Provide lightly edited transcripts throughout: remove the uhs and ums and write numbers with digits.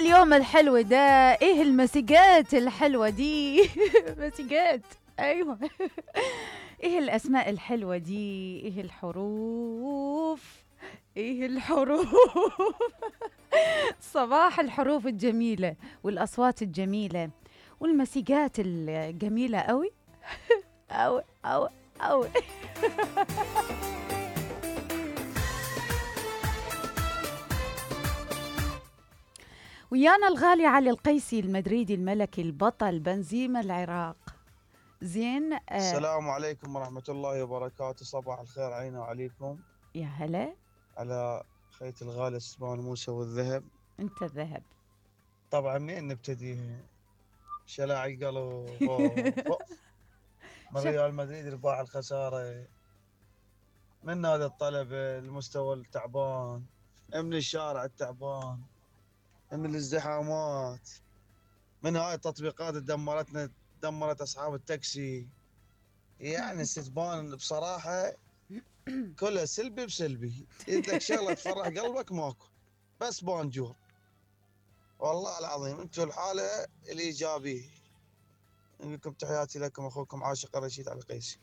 اليوم الحلو ده؟ ايه المسيجات الحلوة دي؟ مسيجات، ايوه. ايه الاسماء الحلوة دي؟ ايه الحروف؟ ايه الحروف؟ صباح الحروف الجميلة والاصوات الجميلة والمسيجات الجميلة قوي قوي قوي قوي. ويانا الغالي علي القيسي المدريدي الملكي البطل بنزيما العراق. زين. السلام عليكم ورحمة الله وبركاته. صباح الخير علينا وعليكم. يا هلا. على خيط الغالي السمان موسى والذهب. انت الذهب. طبعا منين نبتدي؟ شلاعي قالوا من ريال مدريد رباح الخسارة، من نادي الطلبة المستوى التعبان، من الشارع التعبان، من الازدحامات، من هاي التطبيقات اللي دمرت أصحاب التاكسي. يعني استثبان بصراحة كلها سلبي بسلبي. إذا شغلة تفرح قلبك ماكو، بس بونجور. والله العظيم انتم الحالة الإيجابية. لكم تحياتي لكم أخوكم عاشق رشيد علي القيسي.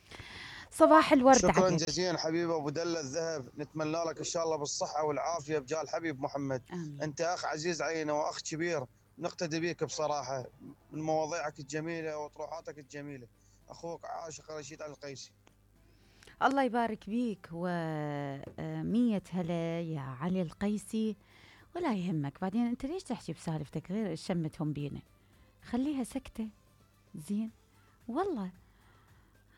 صباح الورد شكرا عليك. جزيلا حبيبي أبو دلة الذهب، نتمنى لك إن شاء الله بالصحة والعافية بجاه الحبيب محمد. آمين. أنت أخ عزيز علينا وأخ كبير، نقتدي بيك بصراحة من مواضيعك الجميلة وطروحاتك الجميلة. أخوك عاشق رشيد علي القيسي. الله يبارك بيك ومية هلا يا علي القيسي. ولا يهمك، بعدين انت ليش تحكي بسالفتك غير شمتهم بينا؟ خليها سكتة. زين والله.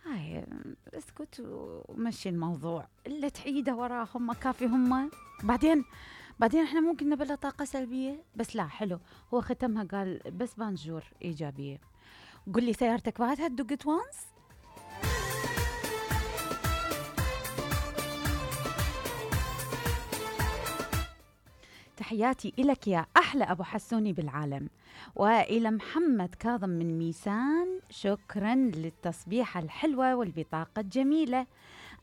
هاي اسكت ومشي الموضوع، اللي تعيده وراهم ما كافي هم. بعدين احنا ممكن نبلغ طاقة سلبية، بس لا حلو. هو ختمها قال بس بانجور إيجابية. قل لي سيارتك بعدها دقت وانس؟ تحياتي إلك يا أحلى أبو حسوني بالعالم، وإلى محمد كاظم من ميسان، شكرا للتصبيحة الحلوة والبطاقة الجميلة.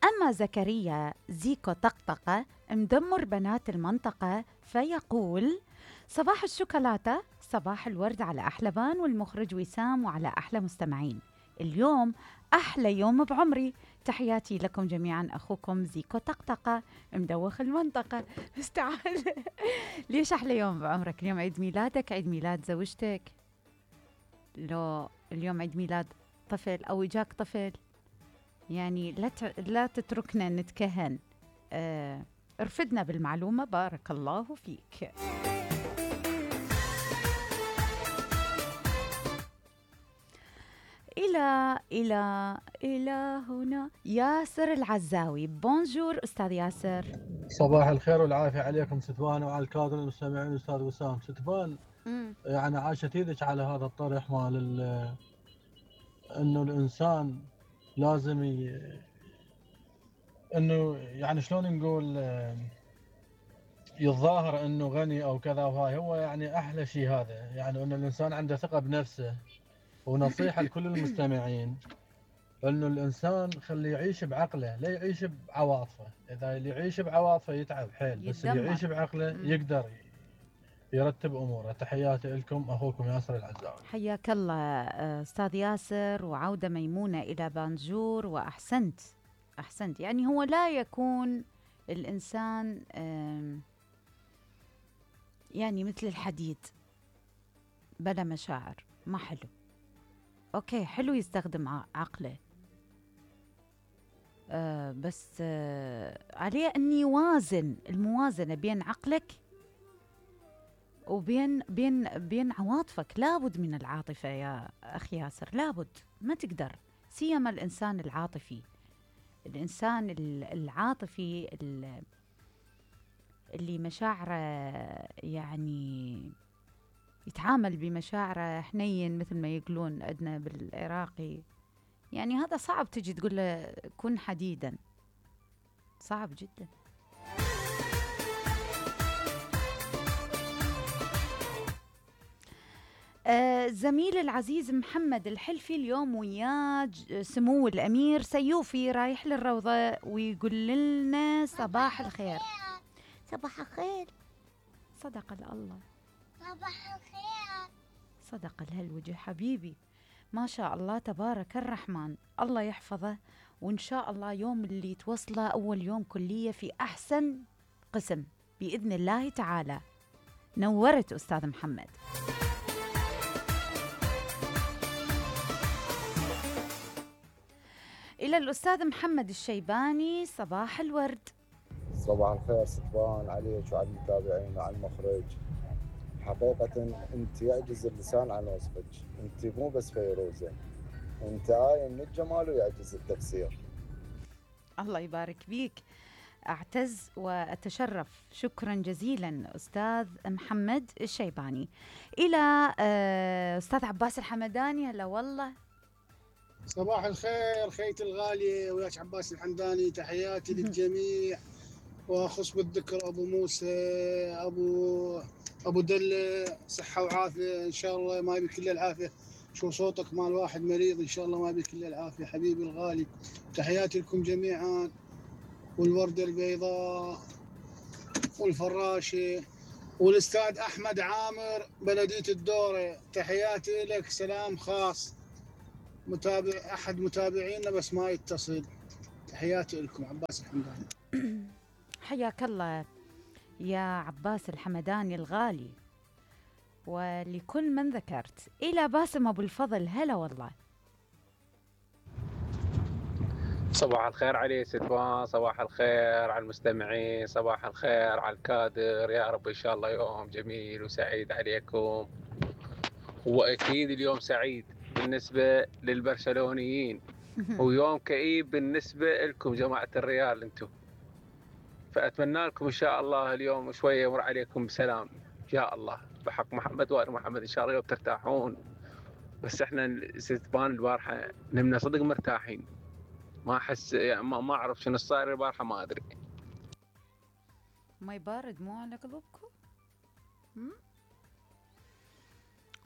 أما زكريا زيكو طقطقة مدمر بنات المنطقة فيقول صباح الشوكولاتة، صباح الورد على أحلى بان والمخرج وسام وعلى أحلى مستمعين. اليوم أحلى يوم بعمري، تحياتي لكم جميعا. أخوكم زيكو طقطقة مدوخ المنطقة. استعال. ليش أحلى يوم بعمرك؟ اليوم عيد ميلادك، عيد ميلاد زوجتك، لو اليوم عيد ميلاد طفل أو إجاك طفل، يعني لا تتركنا نتكهن. ارفدنا بالمعلومة. بارك الله فيك. إلى هنا ياسر العزاوي. بونجور أستاذ ياسر. صباح الخير والعافية عليكم ستفان وعلى الكادر المستمعين. أستاذ وسام ستفان، يعني عاشت ايدك على هذا الطرح مال انه الانسان لازم انه يعني شلون نقول يتظاهر انه غني او كذا، وهاي هو يعني احلى شيء هذا، يعني انه الانسان عنده ثقة بنفسه. ونصيحة لكل المستمعين انه الانسان خليه يعيش بعقله، لا يعيش بعواطفه. اذا اللي يعيش بعواطفه يتعب حيل، بس اللي يعيش بعقله يقدر يرتب اموره. تحياتي لكم، اخوكم ياسر العزاوي. حياك الله استاذ ياسر، وعودة ميمونة الى بانجور. واحسنت يعني هو لا يكون الانسان يعني مثل الحديد بلا مشاعر، ما حلو. اوكي حلو يستخدم عقله، بس عليه ان يوازن، الموازنة بين عقلك وبين عواطفك. لابد من العاطفة يا أخي ياسر، لابد، ما تقدر. سيما الإنسان العاطفي، الإنسان العاطفي اللي مشاعره يعني يتعامل بمشاعره حنين، مثل ما يقولون عندنا بالعراقي. يعني هذا صعب تجي تقول له كن حديدا، صعب جدا. زميل العزيز محمد الحلفي اليوم وياه سمو الأمير سيوفي رايح للروضة، ويقول لنا صباح الخير. صباح الخير. صدق الله. صباح الخير. صدق الهالوجه حبيبي، ما شاء الله تبارك الرحمن، الله يحفظه، وإن شاء الله يوم اللي توصله أول يوم كلية في أحسن قسم بإذن الله تعالى. نورت أستاذ محمد. إلى الأستاذ محمد الشيباني، صباح الورد. صباح الخير ستبان عليك وعلى المتابعين وعلى المخرج. حقيقة انت يعجز اللسان عن وصفك، انت مو بس فيروزة، انت آية من الجمال ويعجز التفسير. الله يبارك بيك، أعتز وأتشرف، شكرا جزيلا أستاذ محمد الشيباني. إلى أستاذ عباس الحمداني، هلا والله. صباح الخير خيتي الغالية وياك عباس الحمداني، تحياتي للجميع، وأخص بالذكر أبو موسى، أبو دلة، صحة وعافية إن شاء الله، ما يبي كل العافية. شو صوتك مال واحد مريض، إن شاء الله ما يبي كل العافية حبيبي الغالي. تحياتي لكم جميعا، والوردة البيضاء والفراشة والأستاذ أحمد عامر بلدية الدورة، تحياتي لك، سلام خاص. متابع أحد متابعينا بس ما يتصل، تحياتي لكم عباس الحمداني. حياك الله يا عباس الحمداني الغالي، ولكل من ذكرت. إلى باسم أبو الفضل، هلا والله. صباح الخير علي ستوان، صباح الخير على المستمعين، صباح الخير على الكادر، يا رب إن شاء الله يوم جميل وسعيد عليكم. وأكيد اليوم سعيد بالنسبة للبرشلونيين ويوم كئيب بالنسبة لكم جماعة الريال انتم، فأتمنى لكم إن شاء الله اليوم شوية يمر عليكم بسلام إن شاء الله، بحق محمد وآل محمد إن شاء الله يوم ترتاحون. بس إحنا ستبان البارحة نمنا صدق مرتاحين، ما أحس يعني ما أعرف شنو صاير البارحة، ما أدري. ما يبارد مو على قلوبكم؟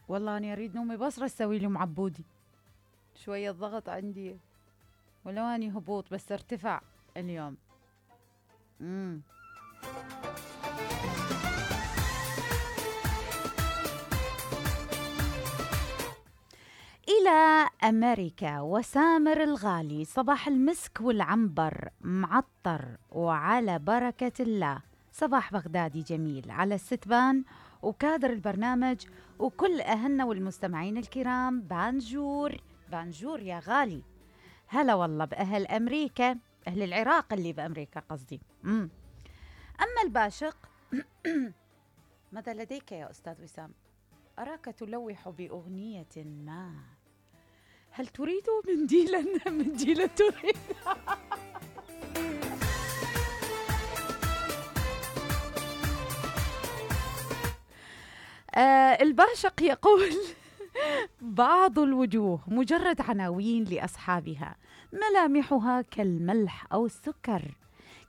والله أنا أريد نومي بصرة أسوي لي معبودي، شوية ضغط عندي، ولو أني هبوط بس ارتفع اليوم. إلى أمريكا وسامر الغالي، صباح المسك والعنبر معطر وعلى بركة الله. صباح بغدادي جميل على الستبان وكادر البرنامج وكل أهلنا والمستمعين الكرام. بانجور بانجور يا غالي، هلا والله بأهل أمريكا، أهل العراق اللي بأمريكا قصدي. أما الباشق ماذا لديك يا أستاذ وسام؟ أراك تلوح بأغنية ما، هل تريد منديلا؟ منديلا تريد؟ الباشق يقول بعض الوجوه مجرد عناوين لأصحابها، ملامحها كالملح أو السكر،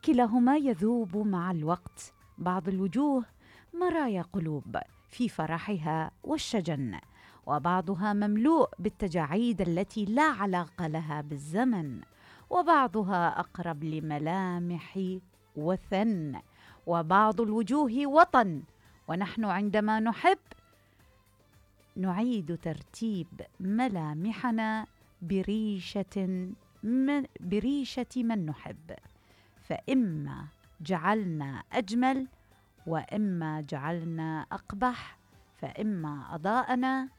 كلاهما يذوب مع الوقت. بعض الوجوه مرايا قلوب في فرحها والشجن، وبعضها مملوء بالتجاعيد التي لا علاقة لها بالزمن، وبعضها أقرب لملامح وثن، وبعض الوجوه وطن. ونحن عندما نحب نعيد ترتيب ملامحنا بريشة من نحب، فإما جعلنا أجمل وإما جعلنا أقبح، فإما أضاءنا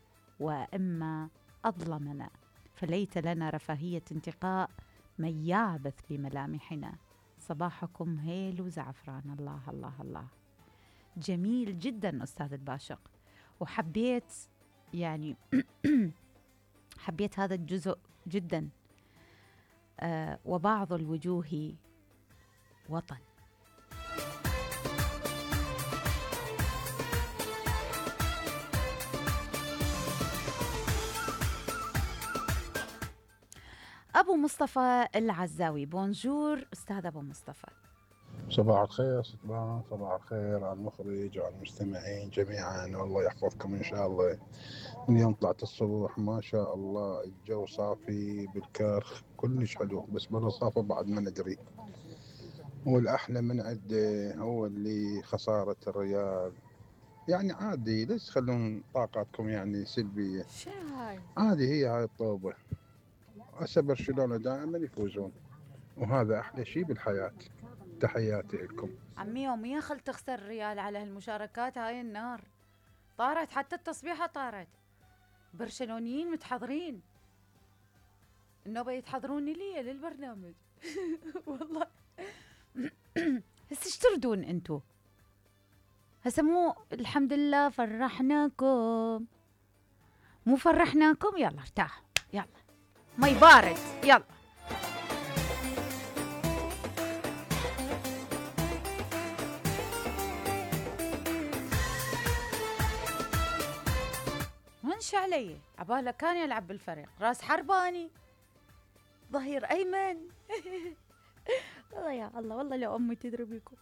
وإما أظلمنا، فليت لنا رفاهية انتقاء من يعبث بملامحنا. صباحكم هيل وزعفران. الله الله الله، جميل جدا أستاذ الباشق، وحبيت يعني حبيت هذا الجزء جدا. وبعض الوجوه وطن. أبو مصطفى العزاوي، بونجور أستاذ أبو مصطفى. صباح الخير ستبان، صباح الخير على المخرج وعلى المستمعين جميعا، والله يحفظكم إن شاء الله. من يوم طلعت الصبح ما شاء الله الجو صافي بالكرخ كلش حلو، بس برا صافي بعد ما ندري. والأحلى من عنده هو اللي خسارة الريال يعني عادي، ليش تخلون طاقاتكم يعني سلبية؟ شنو هاي؟ عادي، هي هاي الطوبة. هسه برشلونة دائما يفوزون، وهذا أحلى شيء بالحياة. تحياتي لكم. عمي يوميا خل تخسر ريال على هالمشاركات، هاي النار طارت، حتى التصبيحة طارت. برشلونيين متحضرين، النوبة يتحضروني لي للبرنامج. والله. هسه ايش تردون انتو؟ هسه مو الحمد لله فرحناكم، مو فرحناكم؟ يلا ارتاحوا، يلا مي بارد، يلا. منش علي عباله كان يلعب بالفريق، راس حرباني، ظهير ايمن. والله يا الله، والله لو امي تدري بيكم.